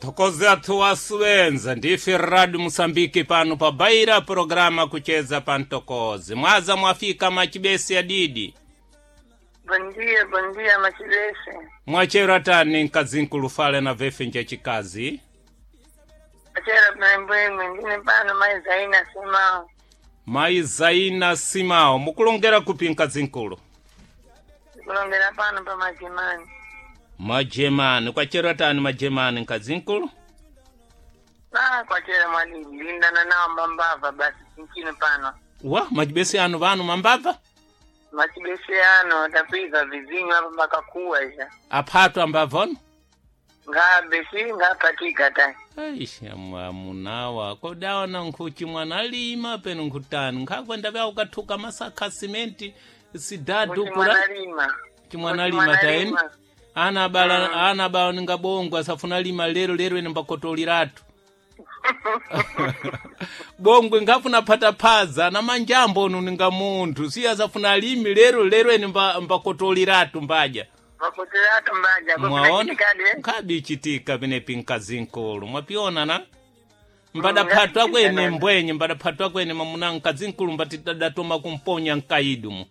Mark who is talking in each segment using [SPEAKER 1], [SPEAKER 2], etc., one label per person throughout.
[SPEAKER 1] Thokoze athu wasuwenza ndife Radio Musambiki pano pa Baira programa kucheza pa Ntokozi. Mwaza mwafika machibesi ya didi.
[SPEAKER 2] Bom dia, bom dia, Machibese.
[SPEAKER 1] Mwachera tani nkazinkulu fale na vefe nja chikazi.
[SPEAKER 2] Achera mbwembwe ndine pano mai Zaina Simao.
[SPEAKER 1] Mai Zaina Simao mukulongera kupi nkazinkulu?
[SPEAKER 2] Kulongera pano pa Majemani.
[SPEAKER 1] Majemani kwachera tani majemani nkazinkulu?
[SPEAKER 2] Ah, kwachera mwadidi lindana nawo mbambava basi chinchino pano.
[SPEAKER 1] Wa majibesi anu vanu mambava?
[SPEAKER 2] Machibese ano tapwiza vizinyo apo pakakuwa isha.
[SPEAKER 1] Aphatwa ambavono?
[SPEAKER 2] Ngabe si ngapatika tai.
[SPEAKER 1] Aish, amunawa kodawana nkhuchi mwana alima peno nkhutani nkhakwenda vya ukathuka masakha simenti sidadu
[SPEAKER 2] Kuti
[SPEAKER 1] kura
[SPEAKER 2] mwanalima.
[SPEAKER 1] chimwana
[SPEAKER 2] Kuti
[SPEAKER 1] lima taeni
[SPEAKER 2] mwanalima.
[SPEAKER 1] ana bala ana bala ningabongwa asafuna lima lero lero ene mbakotoliratu bongwe nkhafuna phataphaza na manjambo onu ninga munthu siye asafuna alimi lero lero ene mbakotoliratu mbaja
[SPEAKER 2] Makotelatu mbaja.
[SPEAKER 1] mwaona
[SPEAKER 2] Kade.
[SPEAKER 1] nkhabi ichitika penepi mkazinkulu mwapiona na mbadaphatwa kwene mbwenye mbadaphatwa kwene mamuna mkazinkulu mbatidadatoma kumponya mkaidumu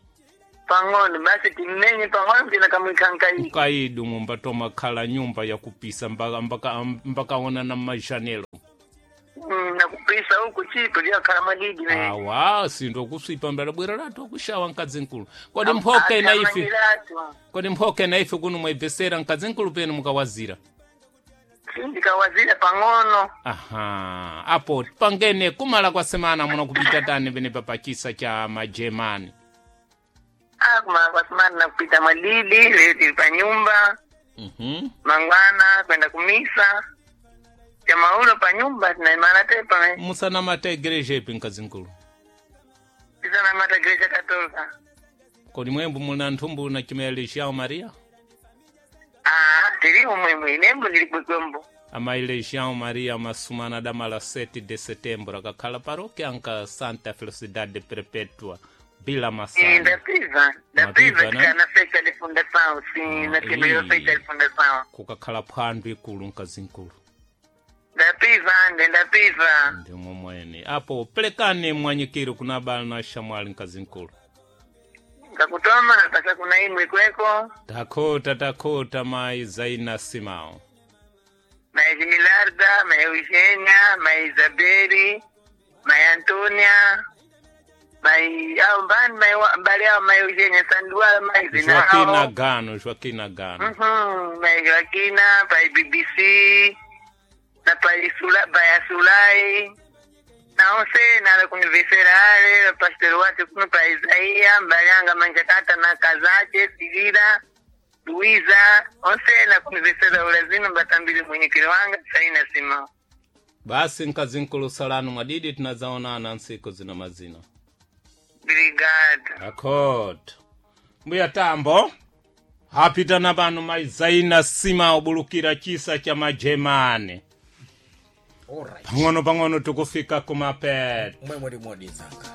[SPEAKER 2] Pang'ono basi timmenye pang'ono tina kamwika nkai.
[SPEAKER 1] mkaidumu mbatoma khala nyumba yakupisa mbakaona na majanelo
[SPEAKER 2] Na kupisa huku chipo lyakhala madidi ne.
[SPEAKER 1] awa sindo kuswipa mbadabwera latu akushawa mkazinkulu kodi mphoka ina ife
[SPEAKER 2] Akamanyiratu.
[SPEAKER 1] kodi mphoka ina ife kuno mwaibvesera mkazinkulu penu mukawazira
[SPEAKER 2] Sindikawazira pang'ono.
[SPEAKER 1] Aha, apo pangene kumala kwa semana muno kupita tani penepa pa chisa cha majemani.
[SPEAKER 2] Ah, kumala kwa semana nakupita madidi leo tili pa nyumba mangwana kwenda kumisa chamaulo pa nyumba tinaimana tepa me
[SPEAKER 1] Musanamata igreja ipi mkazinkulu?
[SPEAKER 2] tisanamata igreja katolika.
[SPEAKER 1] Kodi mwembu muna nthumbu na chimea Legião Maria?
[SPEAKER 2] Ah, tili umwemwe inembo ndili kwekwembo.
[SPEAKER 1] Ama Legião Maria masumana damala 7 de setembro akakhala paróquia anka Santa Felicidade Perpétua bila Masana.
[SPEAKER 2] Ndapiva
[SPEAKER 1] Mwapiva,
[SPEAKER 2] ndapiva
[SPEAKER 1] né?
[SPEAKER 2] tikana fecha de fundação sim na primeira
[SPEAKER 1] ii.
[SPEAKER 2] fecha de fundação.
[SPEAKER 1] Kukakhala phwando ikulu mkazinkulu.
[SPEAKER 2] Ndapiva ande ndapiva.
[SPEAKER 1] Ndimwe mwene. Apo pelekani mwanyikiro kuna bala na shamwali mkazinkulu.
[SPEAKER 2] Kakutoma napasa kuna imwe kweko
[SPEAKER 1] Takhota takhota mai Zaina Simao.
[SPEAKER 2] ma Esmilarda, ma Eugenia, ma Isabeli, ma Antonia, ma au mbani ma mbali ao ma Eugenia Sanduala ma
[SPEAKER 1] Joaquina
[SPEAKER 2] Izinao.
[SPEAKER 1] Gano, Joaquina Gano.
[SPEAKER 2] Mhm, ma Joaquina, pa BBC, na pa Isula, pa Asulai. Na onse na la kunivesera ale, pastor wate kuno pa Isaia, mbalianga manjakata na kazache, Silila, Luiza, onse na kunivesera ulazima batambili mwenyekero wanga, saina sima.
[SPEAKER 1] Basi nkazinkulu salanu mwadidi tunazaonana nsiku zina mazina.
[SPEAKER 2] Obrigado.
[SPEAKER 1] Takhota. Mbuya tambo. Hapita na pano mai Zaina Simao bulukira chisa cha majemani.
[SPEAKER 3] Alright.
[SPEAKER 1] Pang'ono pang'ono tukufika kumapeta.
[SPEAKER 3] Mwemwe limodizanga.